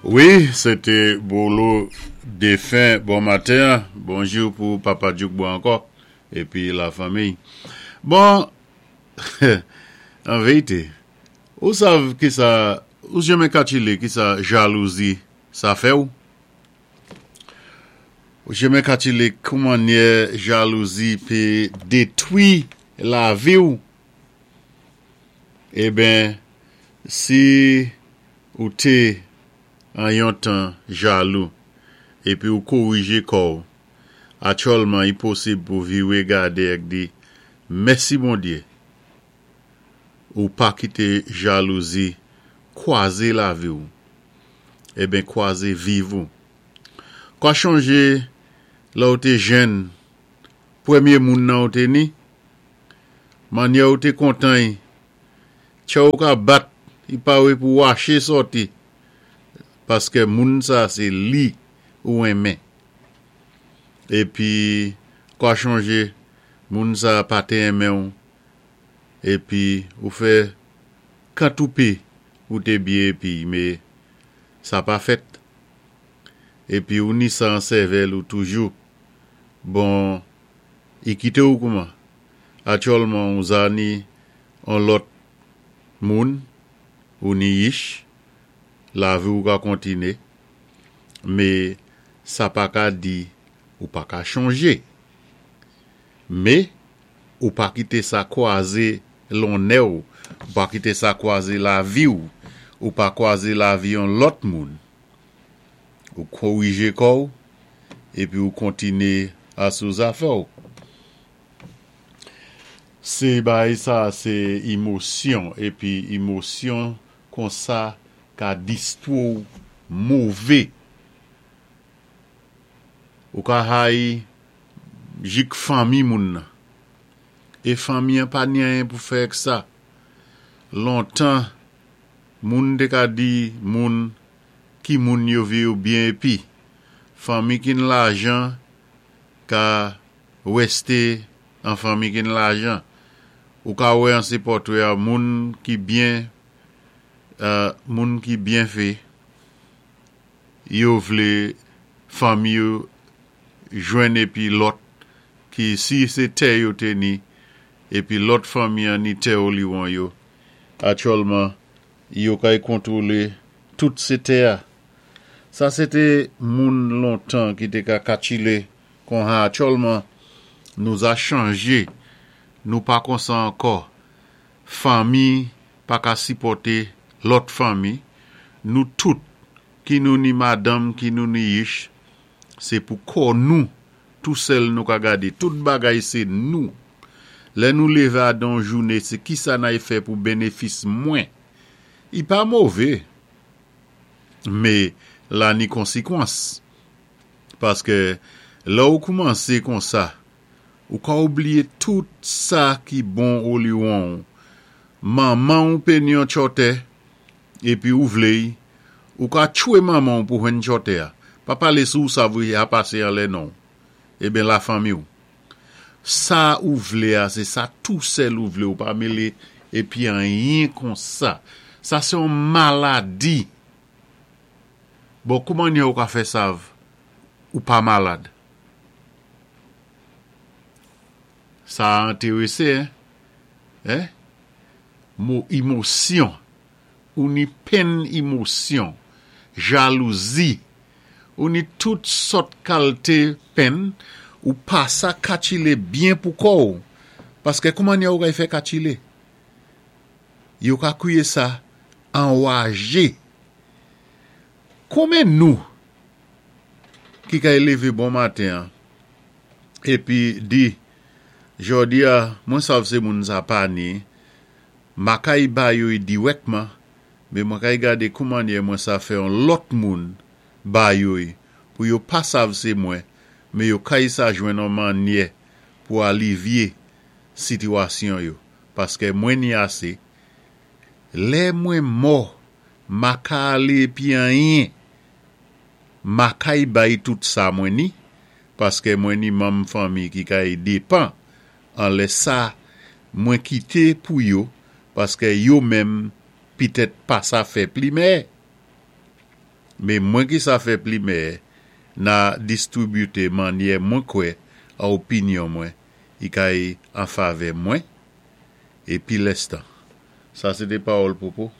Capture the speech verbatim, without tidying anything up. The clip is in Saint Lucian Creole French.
Wi, sé té Bolo défen. Bon maten, bonjou pou Papa Djoukbo ankò, épi la fanmiy. Bon, an vérité, ou sav ki sa, ou janmen katchilé ki sa jalouzi sa fè ou? Ou janmen katchilé koumannyè jalouzi pé détwi lavi ou? Eben, si ou té an yon tan jalou, épi ou kowijé kò-w, aktyèlman i posib pou viwé gadé èk di, mèsi Bondyé, ou pa kité jalouzi kwazé lavi ou, eben kwazé viv ou. Kwa chonjé lè ou té jèn, pwémyé moun nan ou té ni, mannyè ou té kontan y, tchè ou ka bat, i pawé pou waché sòti, paskè moun sa sé li ou enmen. Épi, kwa chonjé, moun sa pa té enmen ou, épi ou fè kantoupé ou té byen épi, mé sa pa fèt. Épi ou ni sa an sèvèl ou toujou. Bon, i kité ou kouman? Aktyèlman ou za ni an lòt moun, ou ni yich, lavi ou ka kontiné, mé sa pa ka di ou pa ka chonjé. Mé, ou pa kité sa kwazé lonnè ou, ou pa kité sa kwazé lavi ou, ou pa kwazé lavi yon lòt moun. Ou kowijé kò-w, épi ou kontiné asou zafè ou. Sé bagay sa, sé émosyon, épi émosyon konsa ka distwo ou mové. Ou ka hayi jik fanmi moun nan. É fanmi an pa ni anyen pou fè ak sa. Lontan, moun té ka di moun ki moun yo vi yo byen épi. Fanmi ki ni lajan ka wésté an fanmi ki ni lajan. Ou ka wè an sé pòtwé a moun ki byen, euh, moun ki byen fé, yo vlé fanmi yo jwenn épi lòt ki si sé tè yo té ni, épi lòt fanmi an ni tè oliwon yo. Aktyèlman, yo kay kontwolé tout sé tè a. Sa sé té moun lontan ki té ka katchilé kon-ha aktyèlman nou za chanjé, nou pa konsa ankò. Fanmi pa ka sipòté lòt fanmi, nou tout ki nou ni madanm, ki nou ni yich, sé pou kò nou, tou sèl nou ka gadé, tout bagay sé nou. Lè nou lévé adan jouné, sé ki sa nay fè pou bénéfis mwen. I pa mové, mé la ni konsikwans. Paskè lè ou koumansé konsa, ou ka oubliyé tout sa ki bon oliwon ou. Manman ou pé ni yon tchòtè, épi ou vlé y, ou ka tchwé manman ou pou jwenn tchòtè a. Pa palé sou sa vou a pasé anlè non. Eben la fanmi ou. Sa ou vlé a, sé sa tou sèl ou vlé ou pa mélé épi anyen konsa. Sa sé yon maladi. Bon, koumannyè ou ka fè sav ou pa malad? Sa entéwésé, hein? Hein? Mo émosyon. Ou ni penn émosyon, jalouzi, ou ni tout sòt kalté penn, ou pa sa katchilé byen pou kò ou. Paskè koumannyè ou kay fè katchilé? Yo ka kwiyé sa anwajé. Konmen nou ki kay lévé bon maten an, épi di, jòdi a, mwen sav sé moun sa pa ni, ma kay ba yo y diwèkman, mé mwen kay gadé koumannyè mwen sa fè yon lòt moun ba yo y, pou yo pa sav sé mwen, mé yo kay sa jwenn an mannyè pou alivyé sitiyasyon yo, paskè mwen ni asé. Lè mwen mò, ma ka alé épi anyen, ma kay bay tout sa mwen ni, paskè mwen ni manm fanmi ki kay dépan, anlè sa mwen kité pou yo, paskè yo menm pitèt pa sa fè plimè. Mé mwen ki sa fè pli mèyè, na distribiwté mannyè mwen kwè a opinyon mwen, i kay an favè mwen, é pi lèstan. Sa sé té pawòl Popo.